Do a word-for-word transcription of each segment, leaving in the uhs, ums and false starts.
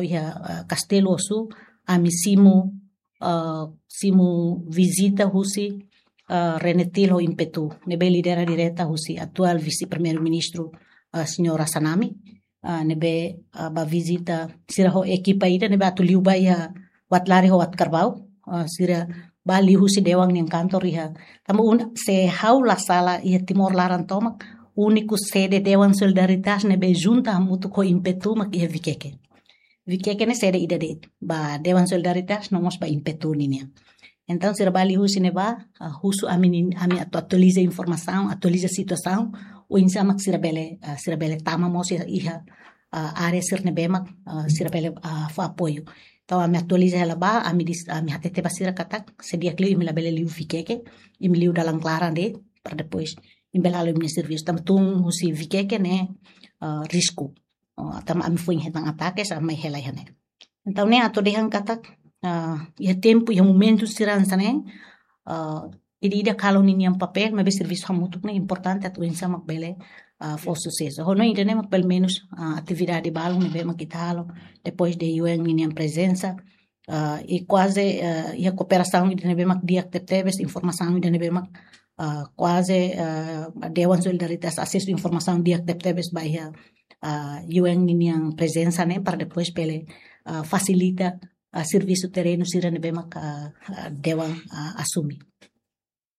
iha, ah, Kastelu Osu, ami simu, ah, simu vizita husi, ah, Renetil ho Impetu, ne'ebé lidera direta husi atuál Vise-Primeiru-Ministru, ah, Señora Xanana, ah, ne'ebé, ah, bá vizita sira ho ekipa ida ne'ebé atu liu ba iha Uatlaris ho Uatkarbaú, ah, sira bá liu husi dewan nian kantor iha. Tanba un, se ha'u la sala iha Timor laran tomak, úniku sede Dewan Solidaritas ne'ebé junta hamutuk ho Impetu mak iha Vikeke. Vikeke ne'e sede ida de'it ba Dewan Solidaritas no mós ba Impetu ninian. Entaun, sira bá liu husi ne'ebá, ah, husu ami nin-, ami atu atualiza informasaun, atualiza situasaun, oinsá mak sira bele, ah, sira bele tama mós iha, iha, ah, área sira ne'ebé mak, ah, sira bele, ah, fó apoiu. Entaun, ami atualiza hela bá, ami dis-, ami hatete ba sira katak, se di'ak liu imi labele liu Vikeke, imi liu dalan klaran de'it, para depois imi bele halo imi-nia servisu. Tanba tun husi Vikeke ne'e, ah, risku. Oh, tanba ami foin hetan atake, ami mai hela iha ne'e. Entaun, ne'e atu dehan katak, ah, iha tempu, iha momentu sira hanesan ne'e, ah, ida-idak halo ninian papél, maibé servisu hamutuk ne'e importante atu oinsá mak bele, ah, fó susesu. Ho no ida-ne'e mak pelumenus, ah, atividade balun ne'ebé mak ita halo, depois de U N ninian prezensa, ah, i kuaze, ah, iha kooperasaun ida ne'ebé mak di'ak tebetebes, informasaun ida ne'ebé mak, ah, kuaze, ah, Dewan Solidaritas asesu informasaun di'ak tebetebes ba iha, ah, U N ninian prezensa ne'e para depois bele, ah, fasilita, ah, servisu terrenu sira ne'ebé mak, ah, ah, dewan, ah, asume.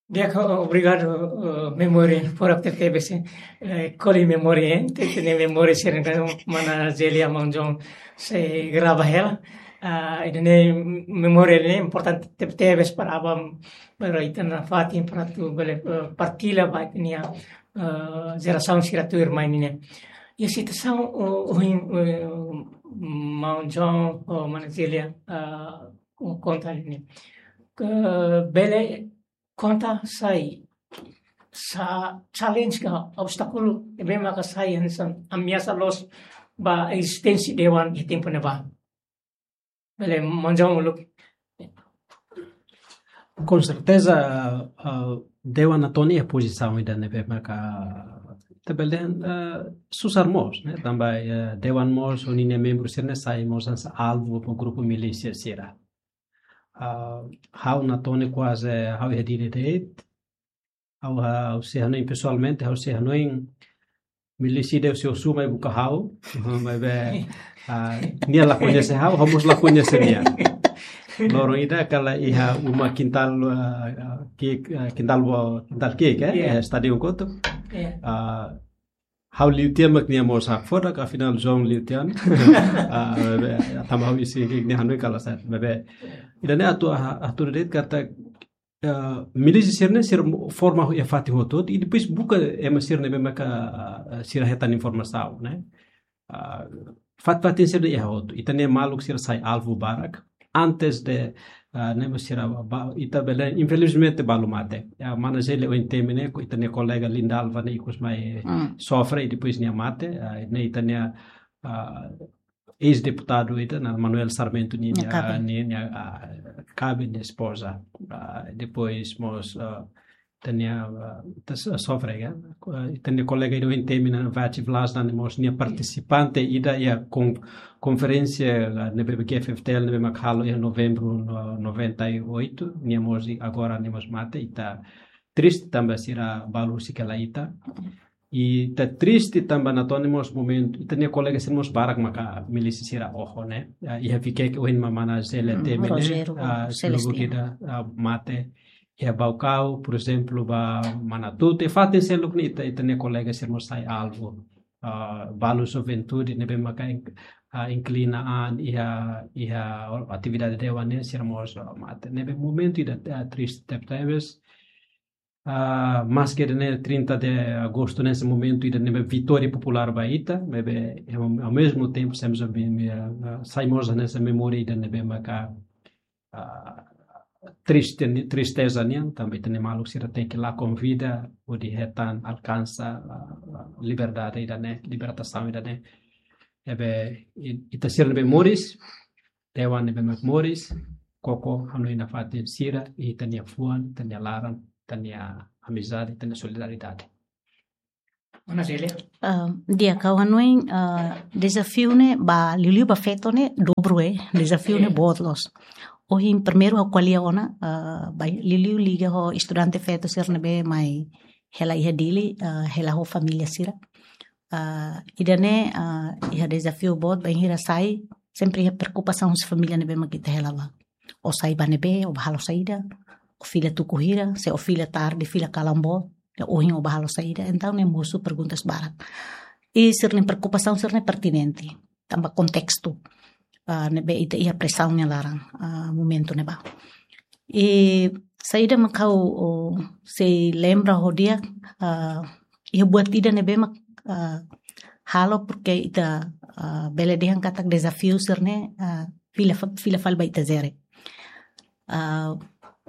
Di'ak, obrigadu, eh, memória, por ter tebes, eh, koli memória, eh, te, te memória sira-ne'e, mana Zélia, maun João sei grava hela. Ah, ida-ne'e memória ne'e importante te, tebes para aban, para ita nafatin para atu bele, eh, partilla ba ita-nia, eh, jerasaun sira tuirmai nian. Iha situasaun, oh, oh, eh, maun João, oh, mana Zélia, ah, konta ne'e. Ke bele konta saida, saida challenge ka obstákulu ne'ebé maka sai hanesan ameasa loos ba ezisténsia dewan iha tempu ne'ebá. Bele maun João uluk. Com certeza, ah, dewan Natoni iha pozisaun ida ne'ebé maka ita bele dehan, ah, susar mós, ne'e? Tanba, eh, dewan mós ho ninia membru sira-ne'e sai mós hanesan alvu ba grupu milísia sira. Ah, ha'u Natoni kuaze ha'u iha Dili de'it. Ha'u, ha'u sei hanoin pesoalmente, ha'u sei hanoin milísia ida sei husu mai buka ha'u, maibé, ah, nia la koñese ha'u, ha'u mós la koñese nia. Loron ida kala iha uma kintal, ah, ah, ki'ik, ah, kintal bo, kintal ki'ik, eh? Iya. Eh, stadion kotuk. Iya. Ah, ha'u liu tiha mak nia mós hakfodak, afinál João liu tiha ona. Ah, maibé, tanba ha'u isin ki'ik nia hanoin kala sa'e. Maibé, ida-ne'e atu, ah, atu de'it katak, eh, milísia sira-ne'e sira mo-, forma iha fatin hotu-hotu, i depois buka ema sira ne'ebé maka, eh, sira hetan informasaun, ne'e? Ah, fat-, fatin sira iha hotu. Ita-nia maluk sira sai alvu barak. Antes de, ah, ne'e mós sira ba, ita bele, infelizmente balu mate. Ya, mana Zélia ohin temi ne'e, ita-nia kolega Lindalva ne'e ikus mai, hmm, sofre, i depois nia mate. Ah, ne'e ita-nia, ah, eis-deputadu ida, Manuel Sarmento, nia, nia kaben, nia, nia, ah, kaben, nia espoza. Ah, depois mós, ah, ita-nia, ah, ita so-, sofre, ya. Ah, ita-nia kolega ida ohin temi, Vati Vlas, ne'e mós nia partisipante ida iha kon-, konferénsia, ah, ne'ebé G F F T L ne'ebé mak halo iha novembru no-, noventa e oito, nia mós i-, agora nia mós mate, ita triste tanba sira balu husi kela ita. I ita triste tanba Natoni mós momentu, ita-nia kolega sira mós barak maka milísia sira oho, ne'e? Ah, iha Vikeke ohin mana Zélia, hmm, temi ne'e, Rogério, ah, Celestino, lubuk ida, ah, mate. Iha Baucau, por ezemplu, ba Manatuto, iha fatin seluk ne'e ita, ita-nia kolega sira mós sai alvu. Ah, balu juventude ne'ebé maka in-, ah, inklina an iha, iha atividade dewan ne'e sira mós, ah, mate. Ne'ebé momentu ida, ah, triste tebetebes. Ah, maske ida-ne'e trinta de agostu ne'e sai momentu ida ne'ebé vitória populár ba ita, maibé, eh, ao, ao mesmo tempo, sempre, ah, sai mós hanesan memória ida ne'ebé maka, ah, triste ni-, tristeza nian, tanba ita-nia maluk sira tenke lakon vida hodi hetan alkansa, ah, ah, liberdade ida-ne'e, libertasaun ida-ne'e. Ne'ebé, i-, ita sira ne'ebé moris, dewan ne'ebé mak moris, koko hanoin nafatin sira, i ita-nia fuan, ita-nia laran, ita-nia amizade, ita-nia solidariedade. Ona Célia? Ah, di'ak, ha'u hanoin, ah, dezafiu ne'e ba liuliu ba feto ne'e dobru, eh, dezafiu ne'e boot loos. Ohin primeiru ha'u ko'alia ona, ah, ba liuliu liga ho estudante feto sira ne'ebé mai hela iha Dili, ah, hela ho família sira. Ah, ida-ne'e, ah, iha dezafiu boot bainhira sai, sempre iha preokupasaun husi família ne'ebé mak ita hela ba. Ó sai ba ne'ebé, ó ba halo saida, ó fila tuku hira, se ó fila tarde, fila kalan boot, ohin ó ba halo saida. Entaun ne'e mosu perguntas barak. I sira-nia preokupasaun sira-ne'e pertinente, tanba kontestu, ah, ne'ebé ita iha presaun nia laran, ah, momentu ne'ebá. I saida mak ha'u, oh, sei lembra ho di'ak, ah, iha buat ida ne'ebé mak, ah, halo porke ita, ah, bele dehan katak dezafiu sira-ne'e, ah, fila fa-, fila fali ba ita jere. Ah,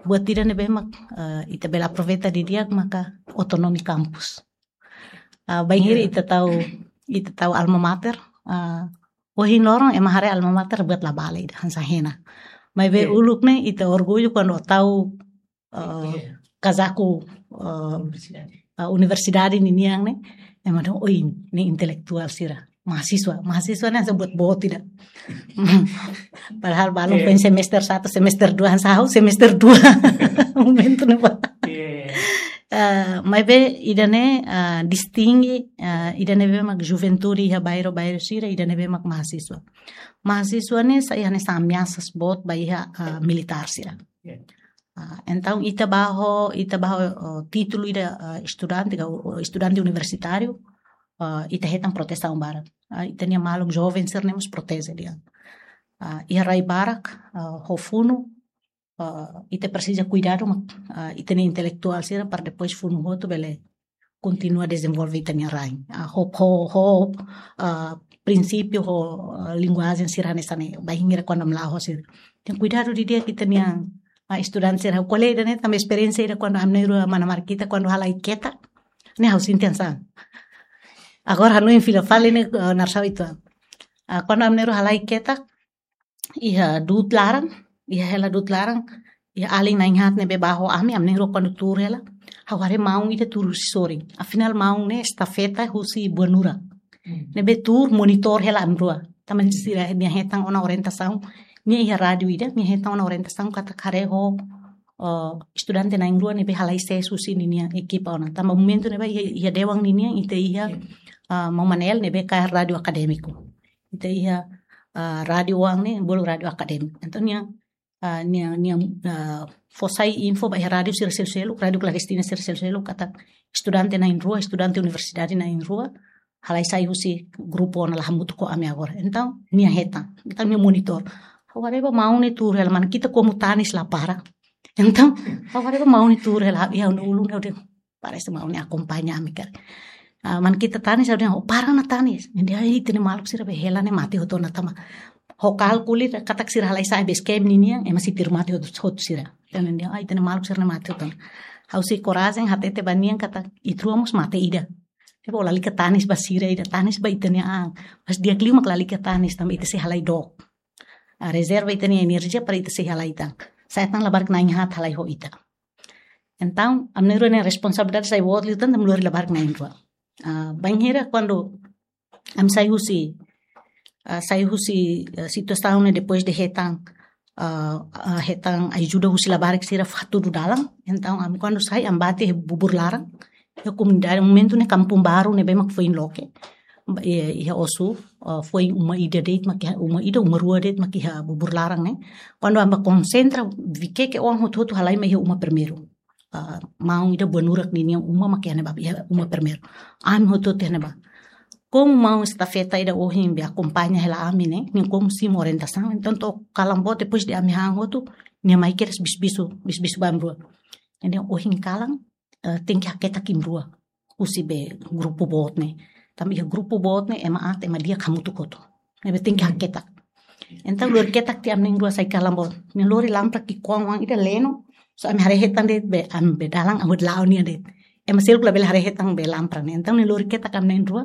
buat ida ne'ebé mak, ah, ita bele aproveita didi'ak maka otonomi kampus. Ah, bainhira ita tau, ita tau alma mater, ah, ohin loron ema haree alma mater buat la bale ida, hanesan hena. Maibé uluk ne'e ita orgullu kuandu tau, ah, kazaku, ah, universidade, ah, universidade ninian ne'e, ema dehan, "Oi, ne'e intelektuál sira." Mahasiswa, mahasiswa ne'e hanesan buat boot ida. Padahal balun foin semester satu, semester dua, hanesan ha'u semester dua. Momentu ne'ebá. Ah, maibé ida-ne'e, ah, distinge, ah, ida ne'ebé mak juventude iha bairru-bairru sira, ida ne'ebé mak mahasiswa. Mahasiswa ne'e sai hanesan ameasas boot ba iha, ah, militár sira. Ah, entaun ita ba ho, ita ba ho, oh, títulu ida, ah, estudante, ka, oh, estudante universitáriu, ah, ita hetan protesaun barak. Ah, ita-nia maluk joven sira-ne'e mós proteje de'it. Ah, iha rai barak, ah, ho funu, ah, ita presiza kuidadu mak, ah, ita-nia intelektuál sira para depois funu hotu bele kontinua dezenvolve ita-nia rain. Ah, ho, ho, ho, ah, prinsípiu ho, ah, linguajen sira hanesan ne'e, bainhira kuandu ami la'o sira. Tenke kuidadu didi'ak ita-nia, ah, estudante sira. Ko'alia ida-ne'e tanba esperiénsia ida kuandu ami na'in-rua mana Markita kuandu halai ketak. Ne'e ha'u sente hanesan. Agora hanoin fila fali ne'e, ah, narsau itu. Ah, kuandu ami na'in-rua halai ketak, iha du'ut laran, iha hela du'ut laran, iha alin na'in-haat ne'ebé ba ho ami, ami na'in-rua kuandu tuur hela, ha'u haree maun ida tuur husi sorin. Afinál maun ne'e estafeta husi Buanurak. Hmm. Ne'ebé tuur monitor hela ami rua. Tanba sira-nia hetan ona orientasaun, nia iha rádiu ida, nia hetan ona orientasaun katak haree ho, eh, estudante na'in-rua ne'ebé halai sees husi ninia ekipa ona. Tanba momentu ne'ebá iha, iha dewan ninian ita iha, eh, maun Manel ne'ebé kaer rádiu akadémiku. Ita iha, ah, rádiu oan ne'e, bolu rádiu akadémiku. Entaun nia, ah, nia, nia, ah, fó sai info ba iha rádiu sira seluk-seluk, rádiu klandestina sira seluk-seluk, katak estudante na'in-rua, estudante universidade na'in-rua, halai sai husi grupu ona la hamutuk ho ami agora. Entaun, nia hetan, entaun nia monitor. Ha'u haree ba maun ne'e tuur hela, mana ita komu tanis la para. Entaun, ha'u haree ba maun ne'e tuur hela, iha ulun ha'u dehan, parese maun ne'e akompaña ami karik. Ah, mana ita tanis, ha'u dehan, "Oh, para ona tanis." Nia dehan, "Ai, ita-nia maluk sira be hela ne'e mate hotu ona tanba ho kálkulu katak sira halai sai base camp ninian, ema sei tuir mate hotu, hotu sira." Entaun nia dehan, "Ai, ita-nia maluk sira ne'e mate hotu ona." Ha'u sei korajen hatete ba nia katak ita rua mós mate ida. Depois lalika tanis ba sira ida, tanis ba ita-nia an. Mas di'ak liu mak lalika tanis, tanba ita sei halai dook. Ah, rezerva ita-nia enerjia para ita sei halai tan. Sa'e tan labarik na'in-haat halai ho ita. Entaun, ami na'in-rua nia responsabilidade sai boot liután, ami lori labarik na'in-rua. Ah, bainhira kuandu ami sai husi, ah, sai husi, ah, situasaun ne'e depois de hetan, ah, ah, hetan ajuda husi labarik sira hatudu dalan. Entaun, ami kuandu sai, ami bá to'o iha Bubur Laran, iha komunidade, momentu ne'e Kampung Baru ne'ebé mak foin loke. Ba, iha, iha Ossu, ah, foin uma ida de'it mak iha, uma ida, uma rua de'it mak iha Bubur Laran ne'e. Kuandu ami bá konsentra, Viqueque oan hotu-hotu halai mai iha uma primeiru. Ah, maun ida Buanurak ninian uma mak iha ne'ebá, iha uma primeiru. Ami hotu-hotu iha ne'ebá. Komu maun estafeta ida ohin be akompaña hela ami ne'e, nia komu simu orientasaun, entaun to'o kalan boot depois de ami han hotu, nia mai kedas bisu-bisu, bisu-bisu ba ami rua. Nia dehan ohin kalan, eh, tenke haketak imi rua husi be grupu boot ne'e. Tanba iha grupu boot ne'e ema aat, ema di'ak hamutuk hotu. Ne'ebé tenke haketak. Entaun lori ketak tiha ami na'in-rua sai kalan boot. Nia lori lampra ki'ikoan oan ida leno. Só ami haree hetan de'it be, ami be dalan, ami la'o nia de'it. Ema seluk labele haree hetan be lampra ne'e. Entaun nia lori ketak ami na'in-rua.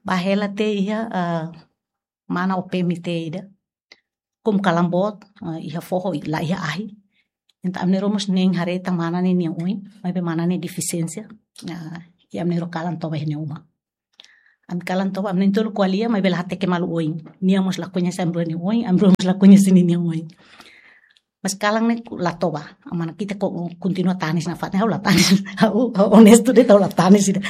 Bá hela to'o iha, ah, mana O P M I T ida. Komu kalan boot, ah, iha foho, la iha ahi. Entaun ami na'in-rua mós nein haree tan mana ne'e nia oin, maibé mana ne'e defisiénsia. Ah, i ami na'in-rua kalan toba iha nia uma. Ami kalan toba, ami na'in-tolu ko'alia, maibé la hateke malu oin. Nia mós la koñese ami-rua nia oin, ami-rua mós la koñese ninia oin. Mas kalan ne'e la toba, mana ita ko-, kontinua tanis nafatin, ha'u la tanis, ha'u, ha'u onestu de'it, ha'u la tanis ida.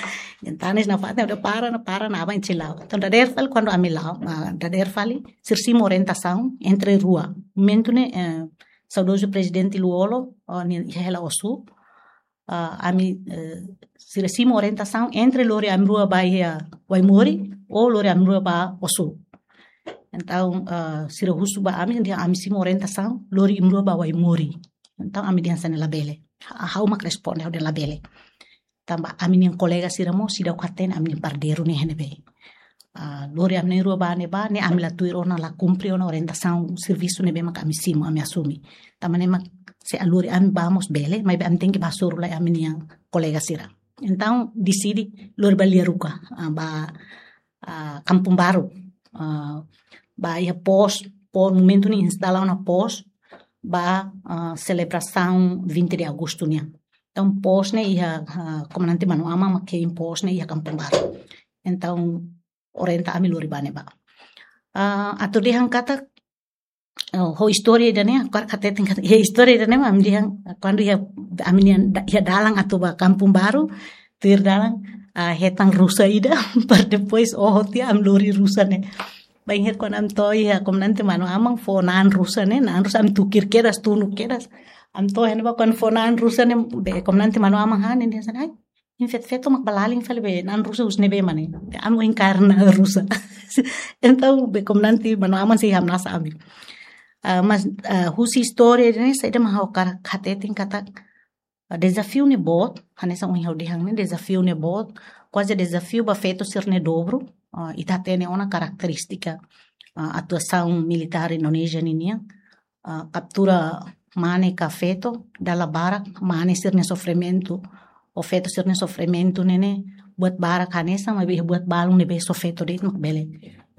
Yang tanis nafatin, ha'u dehan para, na para, na aban ita sei la'o. Entaun dadeer fali, kuandu ami la'o, ah, dadeer fali, sira simu orientasaun entre rua. Momentu ne'e, eh, saudozu Prezidente Lú-Olo, oh, nia iha hela Ossu, ah, ami, eh, sira simu orientasaun entre lori ami-rua ba iha Waimori, ou lori ami-rua ba Ossu. Entaun, ah, sira husu ba ami, dehan ami simu orientasaun lori imi-rua ba Waimori. Entaun ami dehan hanesan ne'e labele. Ha-, ha'u mak responde, ha'u dehan labele. Tanba ami-nia kolega sira mós seidauk hatene ami-nia paradeiru ne'e iha ne'ebé. Ah, lori ami na'in-rua ba ne'ebá, ne'e ami la tuir ona, la kumpre ona orientasaun servisu ne'ebé mak ami simu, ami asumi. Tanba ne'e mak se lori ami ba mós bele, maibé ami tenke ba hasoru lai ami-nia kolega sira. Entaun deside lori ba Lia Ruka, ah, ba, ah, Kampung Baru, ah, ba iha pos, pos, momentu ne'e instala ona pos ba, ah, selebrasaun vinte de Agosto nian. Entaun pos ne'e iha, ah, Komandante Manu Aman mak hein pos ne'e iha Kampung Baru. Entaun orienta ami lori ba ne'ebá. Ah, atu dehan katak, oh, ho istória ida-ne'e, ha'u hakarak hateten katak, iha istória ida-ne'e, ami dehan, kuandu iha, ami-nia da-, iha dalan atu ba Kampung Baru, tuir dalan, ah, hetan rusa ida, para depois, oh, tiha ami lori rusa ne'e. Bainhira kuandu ami to'o iha Komandante Manu Aman fó na'an rusa ne'e, na'an rusa ami tuku kedas, tunu kedas. Ami to'o iha ne'ebá kuandu fó na'an rusa ne'e, be Komandante Manu Aman hane, dehan hanesan, ai, imi feto-feto mak ba lalin fali be, na'an rusa husi ne'ebé mak ne'e. Ami ohin kaer na'an rusa. Entaun, be Komandante Manu Aman sei hamnasa ami. Ah, mas, ah, husi istória ne'e, saida mak ha'u hakarak hateten katak, ah, dezafiu ne'e boot, hanesan ohin ha'u dehan ne'e, dezafiu ne'e boot, kuaze dezafiu ba feto sira-nia dobru, ah, ita hatene ona karakterístika, ah, atuasaun militár Indonézia ninian, ah, kaptura mane ka feto, dala barak mane sira-nia sofrimentu, ou feto sira-nia sofrimentu ne'e ne'e, buat barak hanesan, maibé buat balun ne'ebé só feto de'it mak bele,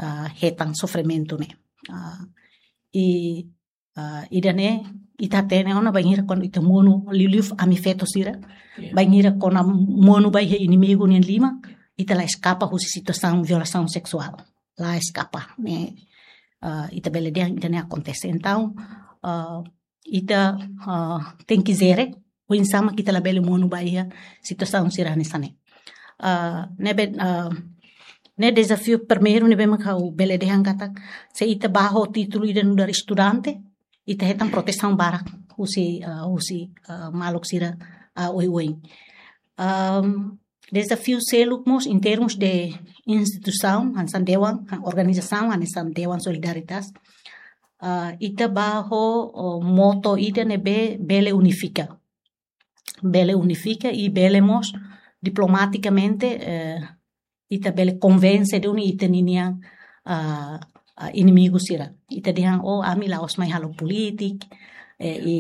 ah, hetan sofrimentu ne'e. Ah, i, ah, ida-ne'e, ita hatene ona bainhira kuandu ita monu liuliu ami feto sira, iya, bainhira kuandu monu ba iha inimigu nian liman, ita la eskapa husi situasaun violasaun seksuál. La eskapa, ne'e, ah, ita bele dehan ida-ne'e akontese. Entaun, ah, ita, ah, tenke jere, oinsá mak ita labele monu ba iha situasaun sira hanesan ne'e. Ah, ne'ebé, ah, ne'e dezafiu primeiru ne'ebé mak ha'u bele dehan katak, se ita ba ho títulu ida nu'udar estudante, ita hetan protesaun barak husi, ah, husi, ah, maluk sira, ah, oioin. Ahm, dezafiu seluk mós em termos de instituisaun, hanesan dewan, organizasaun, hanesan Dewan Solidaritas. Ah, ita ba ho, oh, moto ida ne'ebé bele unifika. Bele unifika i bele mós diplomatikamente, eh, ita bele konvense duni ita-ninia, ah, ah, inimigu sira. Ita dehan, oh, ami la'ós mai halo polítika, eh, i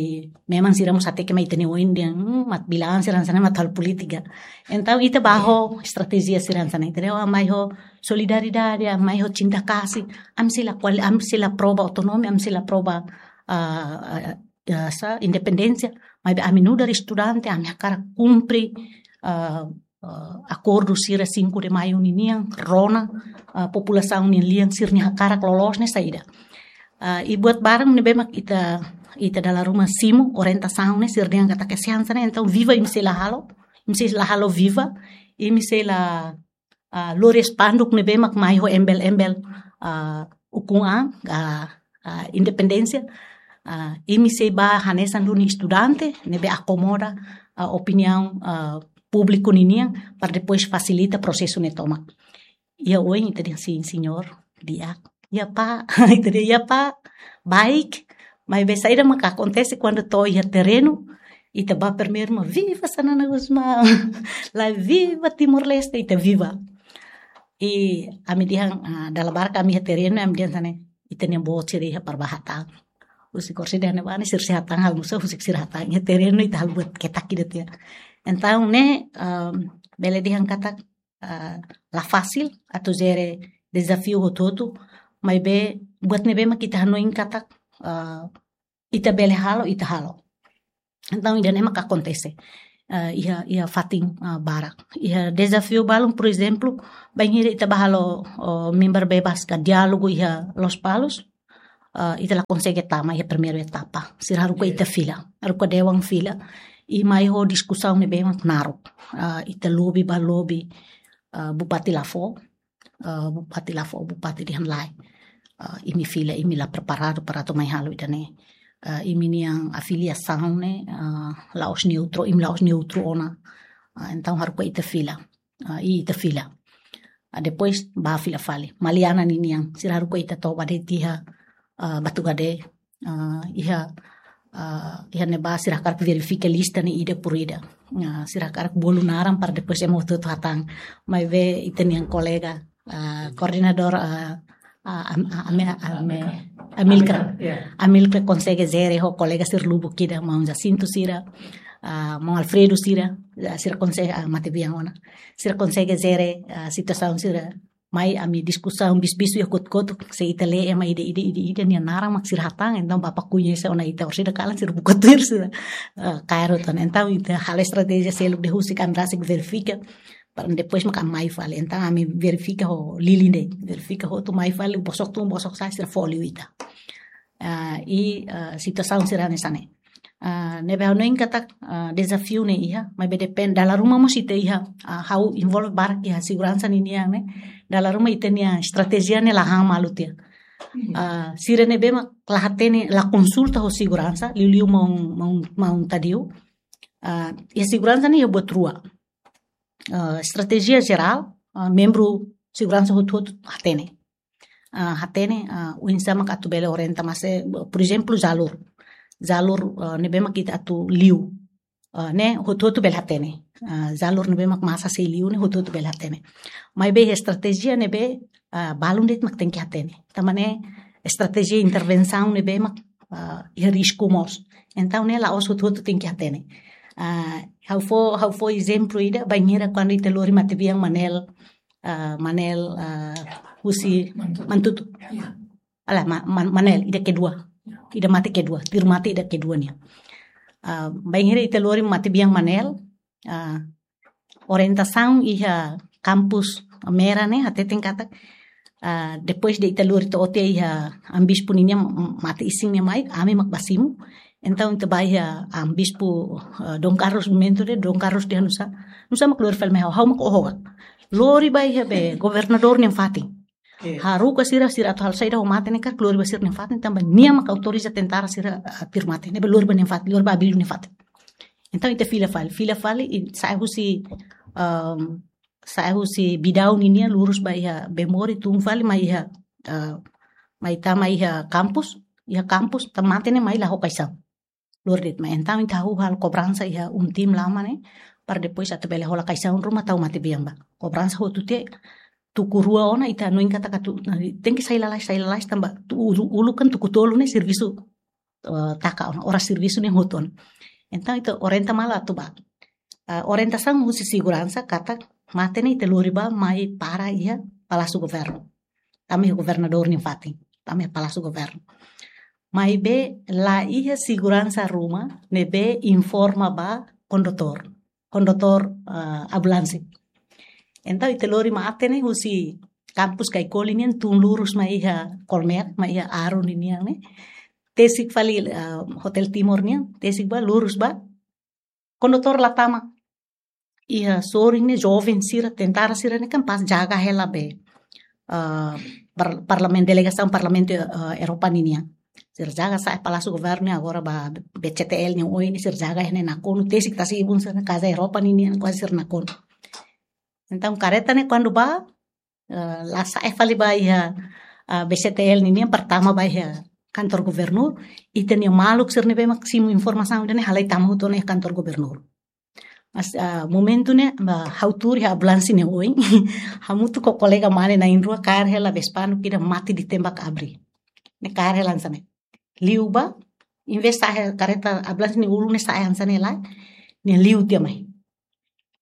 memang sira mós hateke mai ita-nia oin dehan, hmm, mat bilaan sira hanesan ne'e mat halo polítika. Entaun ita ba ho estratéjia sira hanesan ne'e, ita dehan, oh, mai ho solidariedade, mai ho cinta kasih, ami sei la kual-, ami sei la prova autonomia, ami sei la prova, ah, ah, ah, sa, independénsia, maibé ami nu'udar estudante, ami hakarak kumpre, ah, ah, akordu sira cinco de Maio ninian, rona, ah, populasaun nian lian sira-nia hakarak loloos ne'e saida. Ah, i buat barak ne'ebé mak ita, ita dala ruma simu, orientasaun ne'e, sira dehan katak hanesan ne'e, entaun viva imi sei la halo, imi sei la halo viva, imi sei la, ah, lori spanduk ne'ebé mak mai ho embel-embel, ah, ukun an, ah, ah, independénsia, ah, imi sei ba hanesan duni estudante, ne'ebé akomoda, ah, opiniaun, ah, públiku ninian, para depois fasilita prosesu ne'e tomak. Iha oin, ita dehan sin, señór, di'ak. Iha pá, ita dehan iha pá, baik, maibé saida mak akontese kuandu to'o iha terrenu, ita ba primeiru mak viva Xanana Gusmão, la viva Timor-Leste, ita viva. I ami dehan, ah, dala barak ami iha terrenu, ami dehan hanesan ne'e, ita-nia boot sira iha para ba hatán. Husik orsida ne'ebá ne'e sira sei hatán halo nusá, husik sira hatán iha terrenu, ita halo buat ketak ida tiha. Entaun ne'e, ah, bele dehan katak, ah, la fasil atu jere dezafiu hotu-hotu, maibé buat ne'ebé mak ita hanoin katak, ah, ita bele halo, ita halo. Entaun ida-ne'e mak akontese. ah, iha, iha fatin, ah, barak. Iha dezafiu balun, por ezemplu, bainhira ita bá halo, oh, member bebas ka diálogu iha Lospalos, ah, ita la konsege tama iha primeiru etapa. Sira haruka ita fila, haruka dewan fila. I mai ho diskusaun ne'ebé mak naruk. Ah, ita lobi ba lobi, ah, bupati la fó, ah, bupati la fó, bupati dehan lae. Ah, imi fila, imi la preparadu para atu mai halo ida-ne'e. Ah, imi-nia afiliasaun ne'e, ah, la'ós neutru, imi la'ós neutru ona. Ah, entaun haruka ita fila. Ah, i ita fila. Ah, depois bá fila fali. Maliana ninian, sira haruka ita toba de'it iha, ah, Batugade, ah, iha, ah, iha ne'ebá sira hakarak verifika lista ne'e ida por ida. Ah, sira hakarak bolu naran para depois ema hotu-hotu hatán. Maibé ita-nia kolega, ah, koordenadór, ah, ah, Am-, ah, Ame-, Ame-, Amilcar. Ya. Amilcar konsege jere ho kolega sira lubuk ida, maun Jacinto sira, ah, maun Alfredo sira, ah, sira konsege, ah, matebian ona. Sira konsege jere, ah, situasaun sira. Mai ami diskusaun bis-bis iha kotuk-kotuk, se ita lee ema ida, ida, ida, ida nia naran mak sira hatán, entaun bapa koñese ona ita, orsida kalan sira buka tuir sira, ah, kaer hotu ona. Entaun ita halo estratéjia seluk de'it husik ami rasik verifika, para depois mak ami mai fali. Entaun ami verifika ho lilin de'it, verifika hotu mai fali, bosok tun, bosok sa'e, sira fó liu ita. Ah, i, ah, situasaun sira hanesan ne'e. Ah, ne'ebé ha'u hanoin katak, ah, dezafiu ne'e iha, maibé depende, dala ruma mós ita iha, ah, ha'u envolve barak iha seguransa ninian ne'e, dala ruma ita-nia estratéjia ne'e la han malu tiha. Mhm. Ah, sira ne'ebé mak la hatene, la konsulta ho seguransa, liuliu maun, maun, maun Tadeu. Ah, iha seguransa ne'e iha buat rua. Ah, estratéjia jerál, ah, membru seguransa hotu-hotu hatene. Ah, hatene, ah, oinsá mak atu bele orienta, mas, eh, por ezemplu, jalur. Jalur, ah, ne'ebé mak ita atu liu. Ah, ne'e hotu-hotu bele hatene. Ah, jalur ne'ebé mak masa sei liu ne'e hotu-hotu bele hatene. Maibé estratéjia ne'ebé, ah, balun de'it mak tenke hatene. Tanba ne'e estratéjia intervensaun ne'ebé mak, ah, iha risku mós. Entaun ne'e la'ós hotu-hotu tenke hatene. Ah, ha'u fó, ha'u fó ezemplu ida, bainhira kuandu ita lori matebian Manel, ah, Manel, ah, husi Mantutu. Mantutu. Ya. Ala, Ma-, Man-, Manel, ida kedua. Ya. Ida mate kedua, tuir mate ida kedua nian. Ah, bainhira ita lori matebian Manel, ah, orientasaun iha kampus Mera ne'e hateten katak, ah, depois de ita lori to'o tiha iha amu bispu ninian, m-, mate isin ne'e mai, ami mak bá simu. Entaun ita bá iha amu bispu, ah, Dom Carlos, momentu ne'e Dom Carlos dehan nusá, nusá mak lori fali mai ha'u, ha'u mak oho ka. Lori bá iha be governadór nia fatin. Oke. Haruka sira, sira atu halo saida ho mate ne'e karik lori bá sira-nia fatin, tanba nia mak autoriza tentara sira, ah, tuir mate. Ne'ebé lori bá nia fatin, lori bá Abílio nia fatin. Entaun ita fila fali, fila fali, i sa'e husi, ehm, sa'e husi Bidau ninian lurus bá iha Bemori, tun fali mai iha, eh, mai tama iha kampus, iha kampus, tan mate ne'e mai la ho kaixaun. Lori de'it mai. Entaun ita hahú halo kobransa iha um tim lama ne'e, para depois atu bele hola kaixaun ruma tau matebian bá. Kobransa hotu tiha, tuku rua ona, ita hanoin katak atu, nah, tenke sai lalais, sai lalais tanba tu ulu, ulu kan tuku tolu ne'e servisu, eh, taka ona, oras servisu ne'e hotu ona. Entaun ita orienta malu atu bá. Eh, orientasaun husi seguransa katak mate ne'e ita lori bá mai para iha Palásiu Governu. Tama iha governadór nia fatin, tama iha Palásiu Governu. Maibé la iha seguransa ruma ne'ebé informa ba kondutór, kondutór, ah, ambulánsia. Entaun ita lori mate ne'e husi kampus Caicoli nian tun lurus mai iha Colmer, mai iha Aru ninian ne'e. Tesik fali, ah, Hotel Timor nian, tesik bá, lurus bá. Kondutór la tama. Iha sorin ne'e joven sira, tentara sira ne'e kan pas jaga hela be, eh, par-, parlamen-, delegasaun Parlamentu, eh, Europa ninian. Sira jaga sa'e Palásiu Governu ne'e, agora ba B C T L nia oin ne'e, sira jaga iha ne'e nakonu, tesik tasi-ibun sira-nia kaza Europa ninian kuaze sira nakonu. Entaun kareta ne'e kuandu bá, eh, la sa'e fali bá iha, ah, B C T L ninian, pertama bá iha kantor gubernur, ita-nia maluk sira ne'ebé mak simu informasaun ida-ne'e halai tama hotu ona iha kantor gubernur. Mas, ah, momentu ne'e, ba, ha'u tuur iha ambulánsia nia oin, hamutuk ho kolega mane na'in-rua kaer hela Vespa ida mate ditembak abri. Ne'e kaer hela hanesan ne'e. Liu bá, envezde sa'e kareta ambulánsia nia ulun ne'e sa'e hanesan ne'e lae, nia liu tiha mai.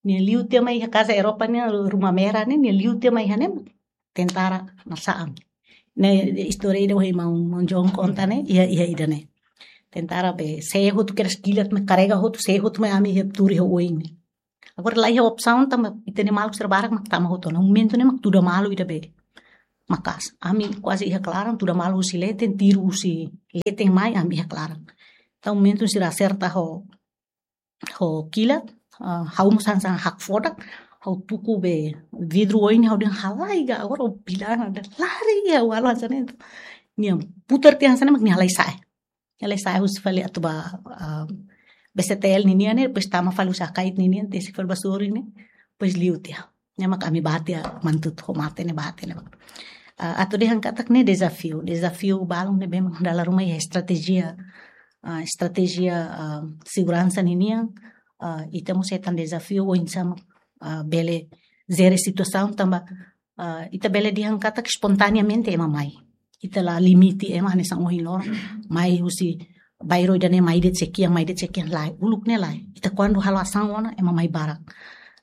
Nia liu tiha mai iha kaza Europa nia, Ruma Mera ne'e, nia liu tiha mai iha ne'e, tentara na'sa'an. Ne'e istória ida ohin maun, maun John konta ne'e, iha, iha ida-ne'e. Tentara be, sé hotu kedas kilat mai karrega hotu, sé hotu mai ami iha tuur iha oin ne'e. Agora la iha opsaun tanba ita-nia maluk sira barak mak tama hotu ona. Momentu ne'e mak tuda malu ida be maka'as. Ami kuaze iha klaran, tuda malu husi leten, tiru husi leten mai, ami iha klaran. Entaun momentu sira aserta ho, ho kilat, ah, ha'u mós hanesan hakfodak, ha'u tuku be vidru oin, ha'u dehan halai ga, agora o bilang ada lari ya, walau hanesan ne'e. Nia putar tiha hanesan ne'e mak nia halai sa'e. Nia halai sa'e husi fali atu ba, ah, B C T L ninian ne'e, depois tama fali husi Akait ninian, tesi fali ba sorin ne'e, depois liu tiha. Ne'e mak ami bá tiha mantut ho mate ne'e, bá tiha ne'e. Ah, atu dehan katak ne'e dezafiu, dezafiu balun ne'ebé mak dala ruma iha estratéjia, ah, estratéjia, ah, seguransa ninian, ah, ita mós hetan dezafiu oinsá mak, ah, bele jere situasaun tanba, ah, ita bele dehan katak espontaneamente ema mai. Ita la limite ema hanesan ohin loron mai husi bairru ida-ne'e mai de'it sei kian, mai de'it sei kian, lae, uluk ne'e lae. Ita kuandu halo asaun ona ema mai barak.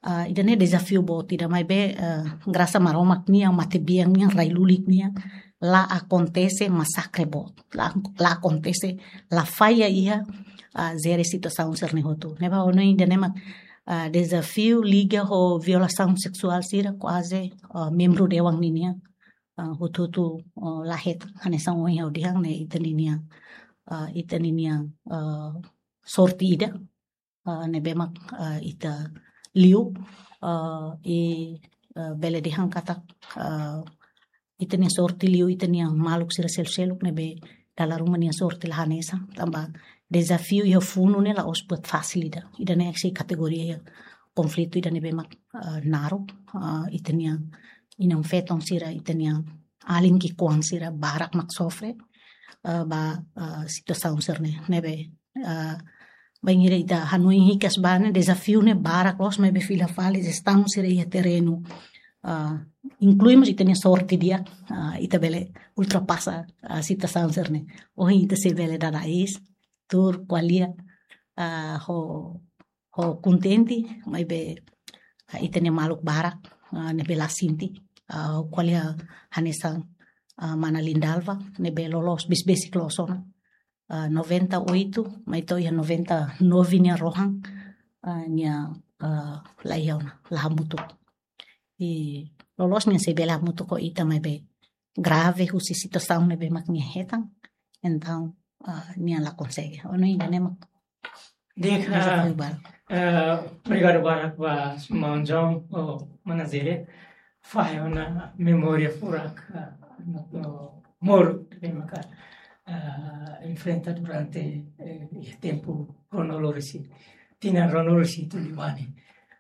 Ah, ida-ne'e dezafiu boot ida maibé, ah, grasa Maromak nian, matebian nian, rai lulik nian, la akontese masakre boot. La, la akontese, la falla iha, ah, jere situasaun sira-ne'e hotu. Ne'ebé ohin ida-ne'e mak, ah, dezafiu liga ho violasaun seksuál sira kuaze, ah, membru dewan ninian, ah, hotu-hotu, ah, la hetan, hanesan ohin ha'u dehan ne'e ita ninian, ah, ita ninian, ah, sorte ida, ah, ne'ebé mak, ah, ita liu, ah, i, ah, bele dehan katak, ah, ita-nia sorte liu, ita-nia maluk sira seluk-seluk ne'ebé dala ruma nia sorte la hanesan, tanba dezafiu iha funu ne'e la'ós buat fasil ida. Ida-ne'e sei kategoria iha konflitu ida ne'ebé mak, ah, naruk, ah, ita-nia inan-feton sira, ita-nia alin ki'ikoan sira barak mak sofre, ah, ba, ah, situasaun sira-ne'e, ne'ebé, ah, bainhira ita hanoin hikas ba ne'e, dezafiu ne'e barak loos, maibé fila fali jestaun sira iha terrenu, ah, inklui mós ita-nia sorte di'ak, ah, ita bele ultrapasa, ah, situasaun sira-ne'e. Ohin ita sei bele dada iis, tuur ko'alia, ah, ho, ho kontente, maibé, ah, ita-nia maluk barak, ah, ne'ebé la sente, ah, ko'alia hanesan, ah, mana Lindalva, ne'ebé loloos besik-besik loos ona. Ah, noventa e oito, mai to'o iha noventa e nove nia rohan, ah, nia, ah, la iha ona, la hamutuk. I loloos nia sei bele hamutuk ho ita maibé grave husi situasaun ne'ebé mak nia hetan. Entaun, ah, nia la konsege. Ohin ida-ne'e mak. Di'ak, dezafiu balu. Eh, obrigadu barak ba maun John, oh, mana Zere. Fahe ona memória furak, ah, no, no, moruk ne'ebé maka, ah, enfrenta durante, eh, tempu ruanulu-resin, tinan ruanulu-resin-tolu liubá ne'e.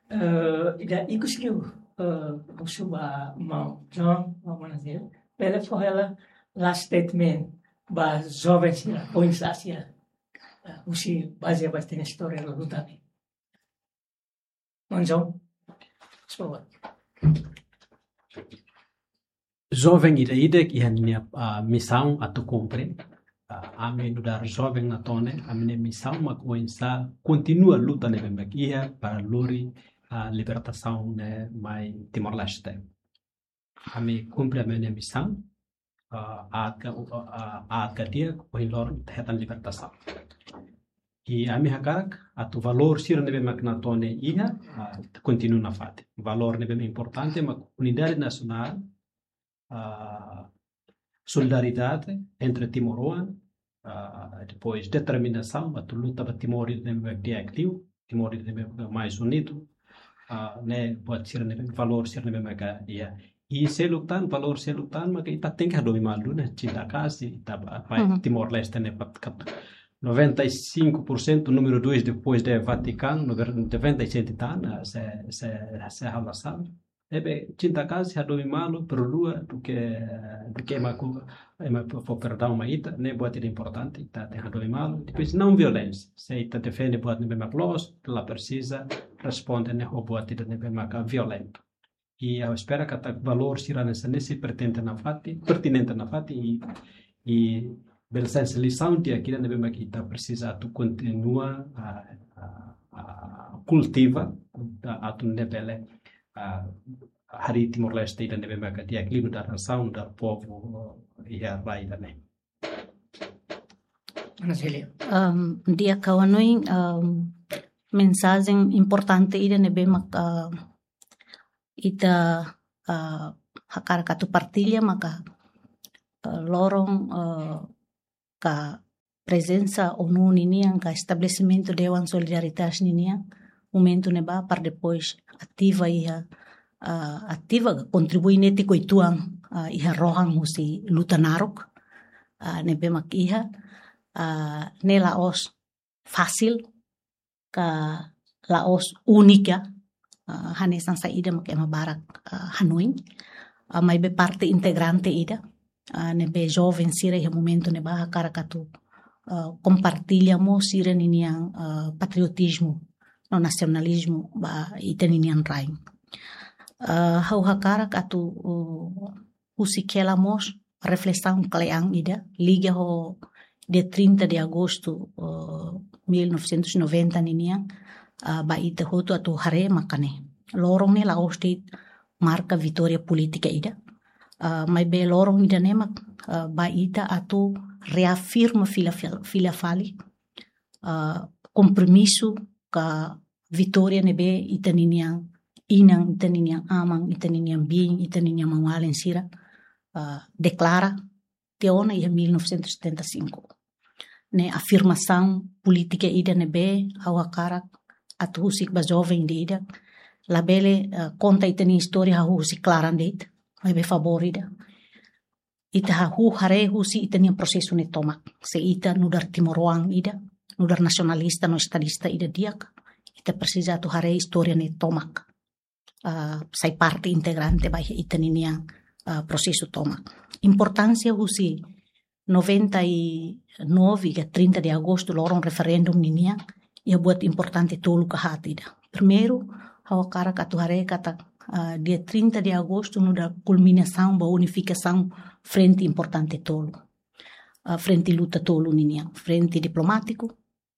Eh, ida ikus liu, eh, husu ba maun John, maun mana Zere, bele fó hela last statement ba joven sira, oinsá sira, eh, husi bazeia ba ita-nia istória lorota ne'e. Maun John, por favór. Joven ida-idak iha nia, ah, misaun atu kumpre. Ah, ami nu'udar joven Natone, ami-nia misaun mak oinsá kontinua luta ne'ebé mak iha para lori, ah, libertasaun ne'e mai Timor-Leste. Ami kumpre ami-nia misaun, ah, aat ka, ah, aat ka di'ak, ohin loron ita hetan libertasaun. I ami hakarak atu valór sira ne'ebé mak Natone iha, ah, kontinua nafatin. Valór ne'ebé importante mak unidade nasionál, ah, solidariedade entre timoroan, ah, depois determinasaun atu luta ba Timor ida ne'ebé di'ak liu, Timor ida ne'ebé mais unidu, ah, ne'e buat sira ne'ebé, valór sira ne'ebé maka iha. I seluk tan, valór seluk tan maka ita tenke hadomi malu ne'e, cinta kasih, ita ba, ba Uhum. Timor-Leste ne'e pat kat noventa e cinco por cento, número dois depois de Vaticano, noventa e sete tan, ah, se, se, se halo sala. Ne'ebé cinta kasih, hadomi malu, perdua, duké, duké ema ku, ema fó perdaun mai ita, ne'e buat ida importante, ita tenke hadomi malu. Depois não violénsia. Se ita defende buat ne'ebé mak loos, la presiza responde ne'e ho buat ida ne'ebé mak violentu. I ha'u espera katak valór sira hanesan ne'e sei pertinente nafatin, pertinente nafatin i, i bele sai hanesan lisaun di'ak ida ne'ebé mak ita presiza atu kontinua, ah, ah, ah, kultiva, ah, atu nune'e bele, ah, harii Timor-Leste ida ne'ebé maka di'ak liu nu'udar nasaun, nu'udar povu, eh, iha rai ida-ne'e. Ana Célia. Em, di'ak, ha'u hanoin, em, mensajen importante ida ne'ebé mak, em, ita, eh, hakarak atu partilla maka, eh, loron, eh, ka prezensa ONU ninian ka estabelesimentu Dewan Solidaritas ninian, momentu ne'ebá para depois ativa iha, eh, ativa ka kontribui netik uitoan, eh, iha rohan husi luta naruk, eh, ne'ebé mak iha, eh, ne'e la'ós fasil ka la'ós únika, ah, hanesan saida mak ema barak, ah, hanoin. Ah, maibé parte integrante ida, ah, ne'ebé joven sira iha momentu ne'ebá hakarak atu, ah, kompartilla mós sira ninian, ah, patriotizmu no nasionalizmu ba ita ninian rain. Ah, ha'u hakarak atu, uh, husik hela mós reflesaun kle'an ida, liga ho dia trinta de agosto, eh, mil novecentos e noventa ninian, eh, ba ita hotu atu haree mak ne'e. Loron ne'e la'ós de'it marka vitória polítika ida. Eh, maibé loron ida-ne'e mak, eh, ba ita atu reafirma fila, fila, fila fali, eh, kompromisu ka vitória ne'ebé ita ninian inan, ita ninian aman, ita ninian biin, ita ninian maun-alin sira, ah, deklara tiha ona iha mil novecentos e setenta e cinco. Ne'e afirmasaun polítika ida ne'ebé ha'u hakarak atu husik ba joven ida-idak, labele, ah, konta ita-nia istória hahú husi klaran de'it, maibé favór ida ita hahú haree husi ita-nia prosesu ne'e tomak. Se ita nu'udar timoroan ida, nu'udar nasionalista no estadista ida di'ak, ita presiza atu haree istória ne'e tomak. Ah, sai parte integrante ba ita ninian, ah, prosesu tomak. Importánsia husi noventa e nove ka trinta de agosto, loron referendum ninian, iha buat importante tolu ka haat ida. Primeiru, ha'u hakarak atu haree katak, ah, dia trinta de agosto nu'udar kulminasaun ba unifikasaun frente importante tolu. Ah, frente luta tolu ninian, frente diplomátiku,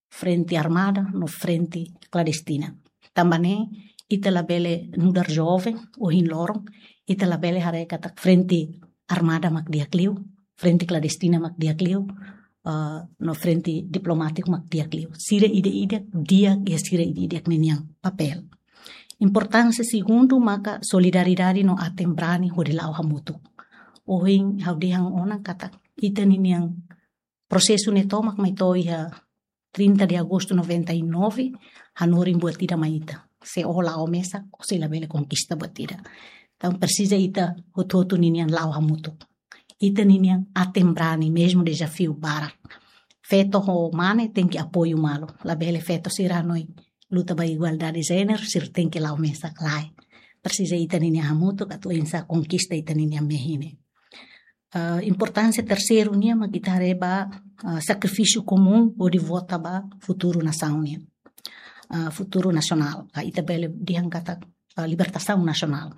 frente armada, no frente klandestina. Tanba ne'e, ita labele nu'udar joven, ohin loron, ita labele haree katak frente armada mak di'ak liu, frente klandestina mak di'ak liu, ah, no frente diplomátiku mak di'ak liu. Sira ida-idak di'ak iha sira ida-idak ninian papél. Importánsia segundu maka solidariedade no aten-brani hodi la'o hamutuk. Ohin ha'u dehan ona katak ita ninian prosesu ne'e tomak mai to'o iha trinta de agosto noventa e nove, hanorin buat ida mai ita. Se ó la'o mesak, ó sei labele konkista buat ida. Entaun presiza ita hotu-hotu ninian la'o hamutuk. Ita ninian aten-brani, mezmu dezafiu barak. Feto ho mane tenke apoiu malu. Labele feto sira hanoin luta ba igualdade jéneru, sira tenke la'o mesak, lae. Presiza ita ninian hamutuk atu oinsá konkista ita ninian mehi ne'e. Ah, importánsia terseiru nian mak ita haree ba, ah, sakrifísiu komún hodi vota ba futuru nasaun nian. Ah, futuru nasionál, ka ita bele dehan katak, ah, libertasaun nasionál.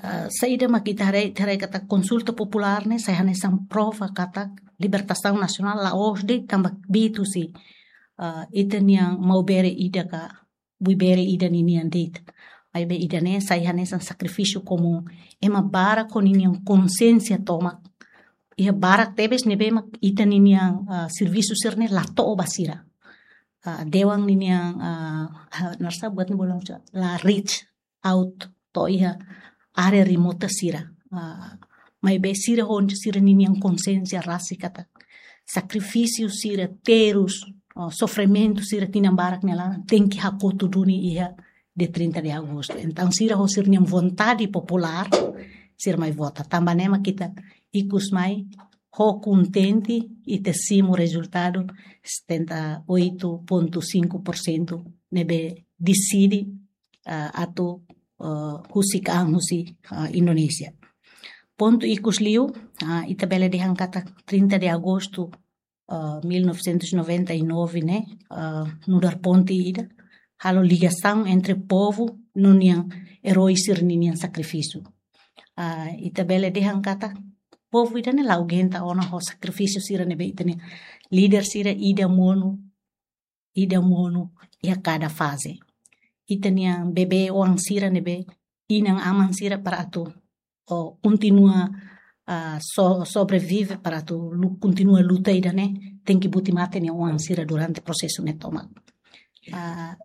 Ah, saida mak ita haree, ita haree katak konsulta populár ne'e sai hanesan prova katak libertasaun nasionál la'ós de'it tanba bitu si, ah, ita-nian maubere ida ka buibere ida ninian de'it. Maibé ida-ne'e sai hanesan sakrifísiu komún. Ema barak ho ninian konsiénsia tomak. Iha barak tebes ne'ebé mak ita ninian, ah, servisu sira-ne'e la to'o ba sira. Ah, dewan ninian, ah, ah, nusá buat ne'e bolu la reach out to'o iha área remota sira. Ah, maibé sira ho sira ninian konsiénsia rasik katak sakrifísiu sira, terus, ah, sofrimentu sira tinan barak nia laran tenke hakotu duni iha dia trinta de agosto. Entaun sira ho sira-nian vontade populár, sira mai vota. Tanba ne'e mak ita ikus mai ho kontente ita simu rezultadu setenta e oito ponto cinco por cento ne'ebé deside, ah, atu, ah, husik an husi, ah, Indonézia. Pontu ikus liu, ah, ita bele dehan katak trinta de agosto, ah, mil novecentos e noventa e nove ne'e, ah, nu'udar ponte ida, halo ligasaun entre povu no nian erói sira-ninian sakrifísiu. Ah, ita bele dehan katak povu ida-ne'e la aguenta ona ho sakrifísiu sira ne'ebé ita-nia líder sira ida monu, ida monu iha kada faze. Ita-nian bebé-oan sira ne'ebé inan-aman sira para atu, oh, kontinua, ah, so-, sobrevive para atu lu-, kontinua luta ida-ne'e, tenke buti mate nia oan sira durante prosesu ne'e tomak. Ah,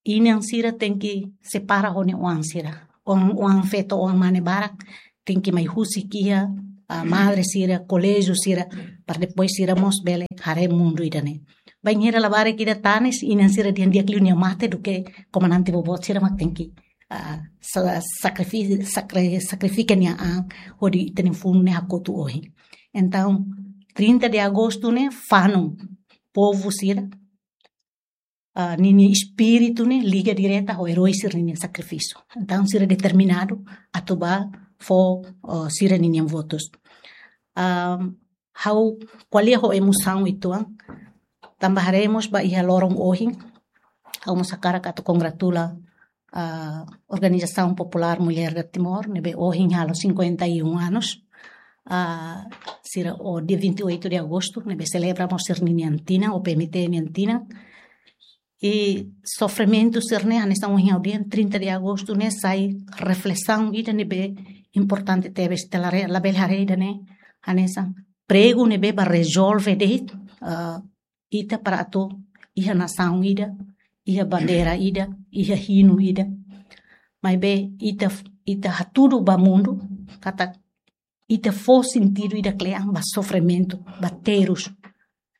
inan sira tenke separa ho nia oan sira. Oan, oan feto, oan mane barak, tenke mai husik iha, ah, madre sira, koléjiu sira, para depois sira mós bele haree mundu ida-ne'e. Bainhira labarik ida tanis, inan sira dehan di'ak liu nia mate duké komandante boboot sira mak tenke, ah, sa-, sakrifi-, sakri-, sakrifika nia an hodi ita-nia funu ne'e hakotu ohin. Entaun, trinta de agostu ne'e fanun povu sira, ah, ninia espíritu ne'e liga direta ho erói sira ninia sakrifísiu. Entaun, sira determinadu atu bá fó, ah, sira ninian votus. Ah, ha'u ko'alia ho emosaun uitoan, tanba haree mós ba iha loron ohin, ha'u mós hakarak atu kongratula, ah, Organização Popular Mulher de Timor, ne'ebé ohin halo cinquenta e um anos. Ah, sira ho dia vinte e oito de agosto, ne'ebé selebra mós sira-nian tinan, O P M T nian tinan. I sofrimentu sira-ne'e, hanesan ohin ha'u dehan, trinta de agosto ne'e sai reflesaun ida ne'ebé importante tebes, ita la re-, labele haree ida-ne'e hanesan pregu ne'ebé bá rezolve de'it, ah, ita para atu iha nasaun ida, iha bandeira ida, iha hinu ida. Maibé ita, ita hatudu ba mundu katak ita fó sentidu ida kle'an ba sofrimentu, ba terus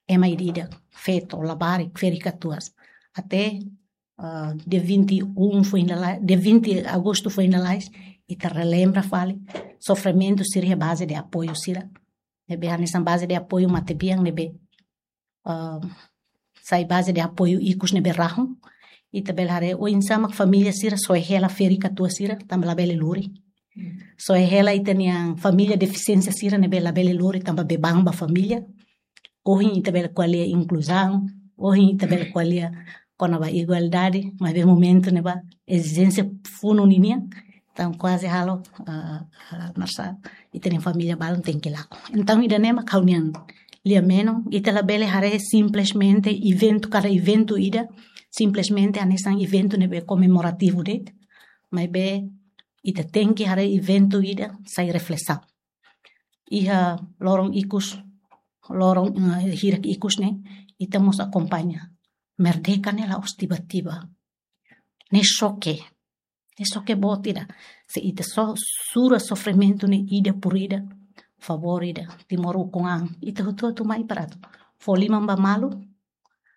ema ida-idak, feto, labarik, ferik-katuas. Até, ah, dia vinte e um foin lalais, dia vinte de agosto foin lalais, ita relembra fali sofrimentu sira iha baze de apoiu sira. Ne'ebé hanesan baze de apoiu matebian ne'ebé, ah, sai baze de apoiu ikus ne'ebé rahun. Ita bele haree oinsá mak família sira soe hela ferik-katuas sira, tanba labele lori. Hmm. Soe hela ita-nia família defisiénsia sira ne'ebé labele lori tanba beban ba família. Ohin ita bele ko'alia inkluzaun, ohin ita bele ko'alia kona-ba igualdade, maibé momentu ne'ebá ezijénsia funu ninian, entaun kuaze halo, ah, ah, mersa, ita-nia família balun tenke lakon. Entaun, ida-ne'e mak ha'u-nian lia-menon, ita labele haree simplesmente eventu, kada eventu ida, simplesmente hanesan eventu ne'ebé komemorativu de'it, maibé ita tenke haree eventu ida sai reflesaun. Iha loron ikus, loron, eh, hirak ikus ne'e, ita mós akompaña. Merdeka ne'e la'ós tiba-tiba. Ne'e xoke. Ne'e xoke boot ida. Se ita so-, sura sofrimentu ne'e ida por ida, favór ida, Timor ukun an, ita hotu-hotu mai para atu fó liman ba malu,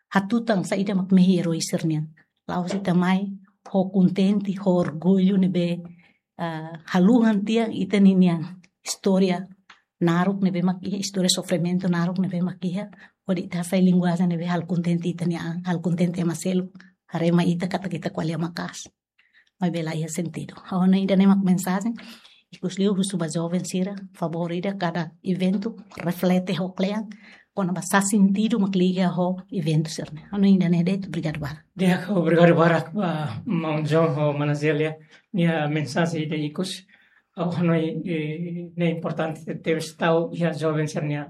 hatutan saida mak mehi erói sira-nian. La'ós ita mai ho kontente, ho orgullu ne'ebé, ah, haluhan tiha ita-ninia istória naruk ne'ebé mak iha, istória sofrimentu naruk ne'ebé mak iha, hodi ita hasai linguajen ne'ebé halo kontente ita-nia an, halo kontente ema seluk, haree mai ita katak ita ko'alia maka'as. Maibé la iha sentidu. Ha'u hanoin ida-ne'e mak mensajen, ikus liu husu ba joven sira, favór ida kada eventu reflete ho kle'an, kona-ba sá sentidu mak liga ho eventu sira-ne'e. Ha'u hanoin ida-ne'e de'it, obrigadu barak. Di'ak, obrigadu barak ba maun John ho mana Zélia nia mensajen ida ikus. Ha'u hanoin, eh, ne'e importante tebes tau iha joven sira-nia,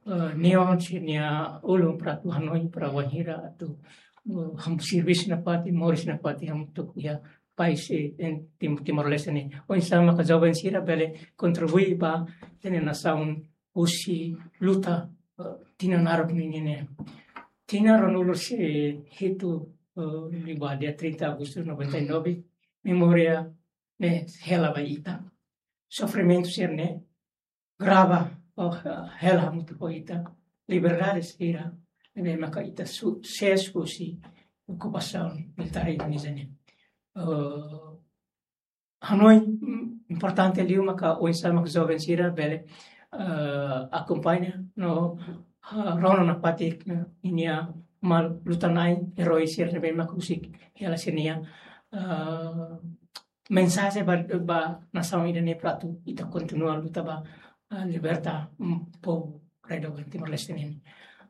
eh, neon sira-nia ulun para atu hanoin para wainhira atu, eh, hamutuk servisu nafatin, moris nafatin hamutuk iha país, eh, em Tim-, Timor-Leste ne'e. Oinsá maka joven sira bele kontribui ba ita-nia nasaun husi luta, eh, tinan naruk ninian ne'e. Tinan ruanulu-resin-hitu, eh, liu ba dia trinta Agustus noventa e nove, memória ne'e hela ba ita. Sofrimentu sira-ne'e grava, oh, hela hamutuk ho ita. Liberdade sira ne'ebé maka ita su-, sees husi okupasaun militár Indonézia ne'e. Eh, hanoin, mm, importante liu maka oinsá maka joven sira bele, eh, akompaña no, ah, rona nafatin, eh, ninia malu luta-na'in erói sira ne'ebé mak husik hela sira-nia, eh, mensajen ba, ba nasaun ida-ne'e para atu ita kontinua luta ba, ah, liberta, mm, povu rai doben Timor-Leste nian.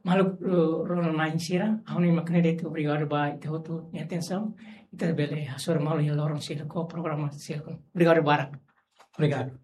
Maluk, eh, rona-na'in sira, ha'u hanoin mak ne'e de'it, obrigadu ba ita hotu nia atensaun. Ita bele hasoru malu iha loron seluk ho programa seluk. Obrigadu barak. Obrigadu.